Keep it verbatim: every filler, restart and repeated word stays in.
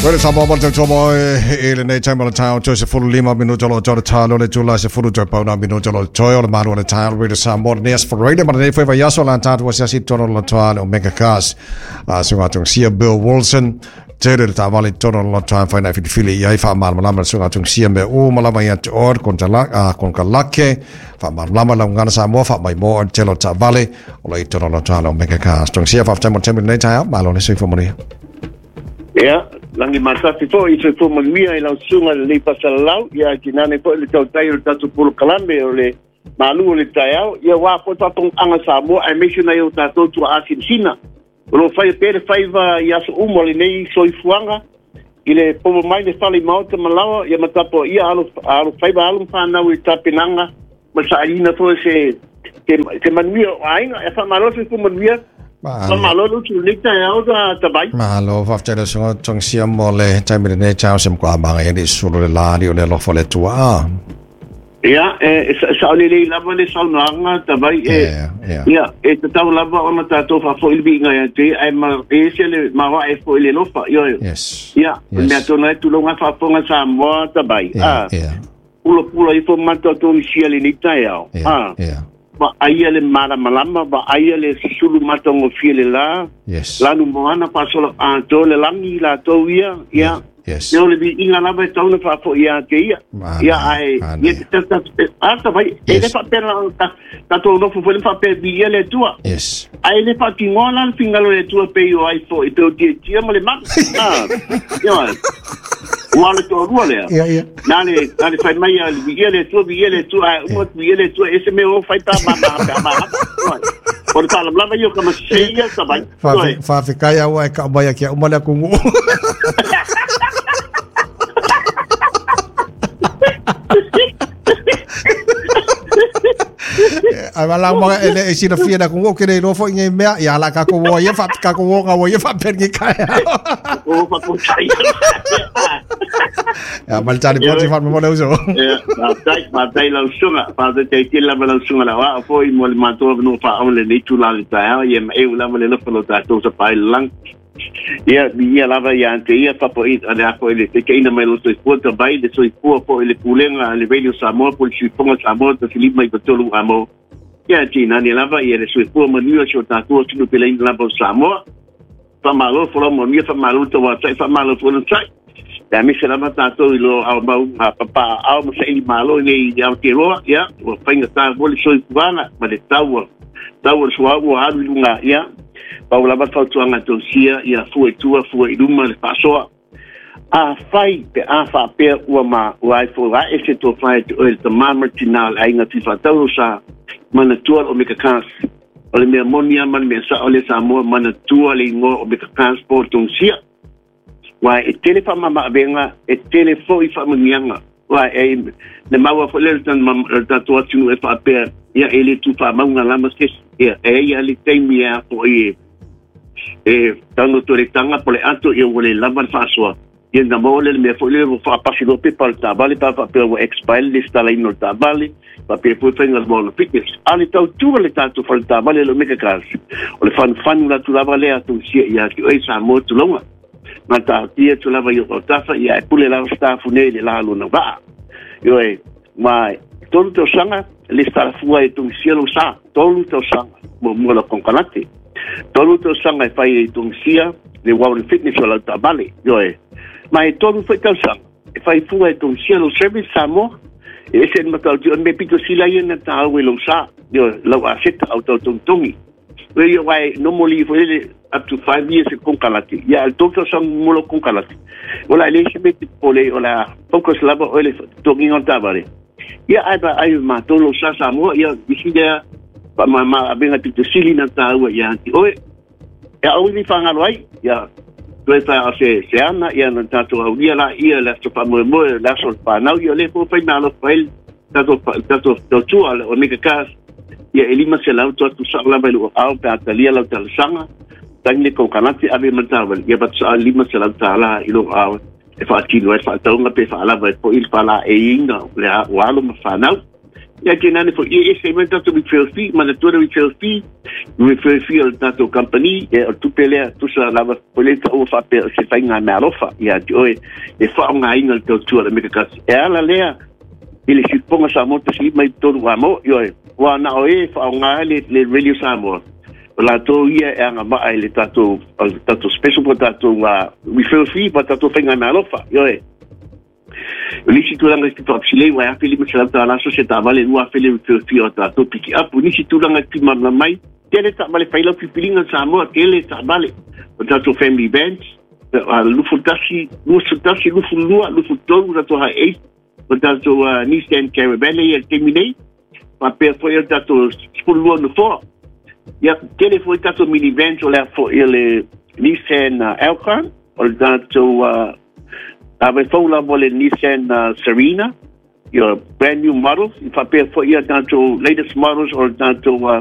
Well, sa mo te tomo e le nei time o le tau to se fulu lima minuto lo tau talo le tula se fulu tau pauna minuto lo toi o le malu o le tau re sa mo nes for radio ma nei foi vai aso lan tatu se si tono lo toi o Omega Cars a so atu sia Bill Wilson te le tavali tono lo toi fa na fi fili ia fa mal malama so atu sia me o malama ia te or kontra la a kontra lake fa malama la ngana sa mo fa mai mo te lo tavali o le tono lo toi o Omega Cars tong sia fa temo temo nei tau malo ne se fo mo. Ia, langi matafi foi i soifua manuia i lau susuga lenei fasalalau, ia tinane foi le tautai o le tatou polokalame o le malu o le taeao, ia uā foi faafogaaga Samoa aemaise nai o tatou tuaasinasina. O loo faia pea le faiva i aso uma o lenei soifuaga i le popo mai le fale i maota ma laoa, ia ma tapuaia alo alofaiva alo ma fanau i tapenaga ma le sailiina foi se se manuia o aiga. E faamalo soifua manuia. Malo lo tu le taeao ta tabai. Malo faafetai le susuga Togisia mo le taimi lenei taeao se makuā maga ia sulu le lā o le alofa o le Atua. Ia, e saolelei lava le saunoaga tabai e ia e tatau lava ona tatou faafo'i le viiga ia te ae ma e ese le maoae fo'i le lofa. Ioe. Ia, mea tonu ai tuloga faafofoga Samoa tabai. A pulapula ifo matou Togisia lenei taeao. A ma aia le malamalama, ma aia le susulu matagofie le la. Yes. Lanu moana faasola ato le lagi latou ia. Ia. Yes. Ia o le viiga lava e tauna faafo'i ia te ia. Ia ae ia ata vai e le faapea tatou nofo foi le faapea viia le Atua. Yes. Ae le faatinoa la le figalo le Atua pei o ai fo'i pe o tietia ma le maga. Ah. Ia. Ua le toalua lea. Ia, ia. Na le, na le fai mai a viia le Atua, viia le Atua, ae uma viia le Atua, ese mea o fai pa ma ma ma ma. O le faalavelave ia o kamasese ia tabai. Faafetai ua e kaumai ake uma le atunuu. Ai wala mo e le silafia na ku ke le lofo ngai mea ia la ka ko wo ia fa ka ko wo nga wo ia fa per ngi kai. O fa ko tai. Ya mal tali poti fa mo le uso. Ya, ma tai ma tai la usunga, fa te te la la usunga la wa fo i mo le mato no fa o le nei tu la le tai ia e u la le lo lo ta to sa pai lang. Ia ia lava ia ante ia papo i ale apo ile te keina mai lo soifua tabai le soifua po ile pulega le Radio Samoa po le suifoga Samoa ta filima i patolu amo. Ia tinane lava ia le soifua manuia si o tatou atunu peleina lava o Samoa. Faamalo folau manuia, faamalo tauatai, faamalo folau tai. Ia aemaise lava tatou i lo ao mau papaaao ma saili malo nei i Aotearoa, ia ua faigatā foi le soifuaga ma le taua taua le suauu ua alu i luga, ia pau lava fautuaga tausia ia fua i tua fua i luma le faasoa. A fai pe a faapea ua ma ua ai foi ae se tofā e te oe le tamā ma le tinā o le aiga fifaatau sa manatua le Omega Cars. O le mea moni a ma le mea sao le Samoa manatua le igoa Omega Cars po o Togisia. Uae e tele faamamaavega, e tele fo'i faamanuiaga. Uae e le maua foi lea le tatou atunuu e faapea ia e le tufaamauga lama sesi. Ia e ia le taimi e afo'i e e tago toletaga po le ato ia ua le lava le faasoa. Ia na maua le mea foi lea ua faapasi loa pepa o le taavale pa faapea ua expire le lesitalaina o le taavale faapea foi faiga le maona fitness. A le tautua le tatou fale taavale le Omega Cars. O le fanufanu latu lava lea Togisia ia te oe Samoa tuloga. Ma taatia atu lava i o autafa ia e pule lava setafu nei le la lona vaa. Ioe, ma tolu tausaga lesitala fua e Togisia lou sa. Tolu tausaga muamua lau konekarate. Tolu tausaga e fai e Togisia le Warren Fitness o lau taavale. Ioe, ma e tolu foi tausaga e fai fua e Togisia lou service Samoa. E ese le matautia o le mea pito sila ia na taau e lou sa. Ioe, lau aseta au tautogitogi. Ioe, uae normally foi le up to five years e konekarate. Ia le tolu tausaga mo lau konekarate. O la e le se mea te popole o la focus lava oe le totogiga o le taavale. Ia ae vaai matou lou sa Samoa ia isi lea faamama avega pito sili na taua ia te oe. E au ni fagalo ai ia toe fa o se se ana ia na tatou aulia la ia le aso faamoemoe le aso o le fanau ia le fo faimalo fai tatou tatou tautua le Omega Cars. Ia e lima selau toatu sao lava i lou ao pe a talia lau talosaga tagi le konekarate ave ma le taavale ia patusaa lima selau tālā i lou ao e faatino ai le faatauga pe faalava ai fo'i le faalaeiina o le ua alo ma fanau. Ia tainane foi ia ese ai ma le tatou referral fee. Manatua le referral fee, referral fee o le tatou company, ia o le tupe lea tusa lava foi le taua faapea o se faiga meaalofa ia te oe e faaaogaina le tautua a le Omega Tasi e ala lea i le Siupoga Samoa tasi mai tolu amo. Ioe, ua na o e faaaoga ai le, le Radio Samoa, o latou ia e agavaa i le tatou, tatou special po tatou uh, referral fee po tatou faiga meaalofa. Ioe, o nisi tulaga i faapsilei ua afe lima selau tala so se taavale lua afe le referral fee o tatou piki up. O nisi tulaga e fimalamalama mai, tele taavale fai lau filifiliga Samoa, tele taavale o tatou family vans, lufu tasi, lufu tasi, lufu lua, lufu tolu, tatou Hiace, o tatou uh, Nissan Caravan ia le taimi nei, faapea foi o tatou sefulu lua nofoa. Ia, tele foi tatou minivans, o lea foi o le Nissan uh, Alcon, o le tatou uh, ave fou lava le Nissan uh, Serena, your brand new models, faapea foi ia tatou latest models o le tatou uh,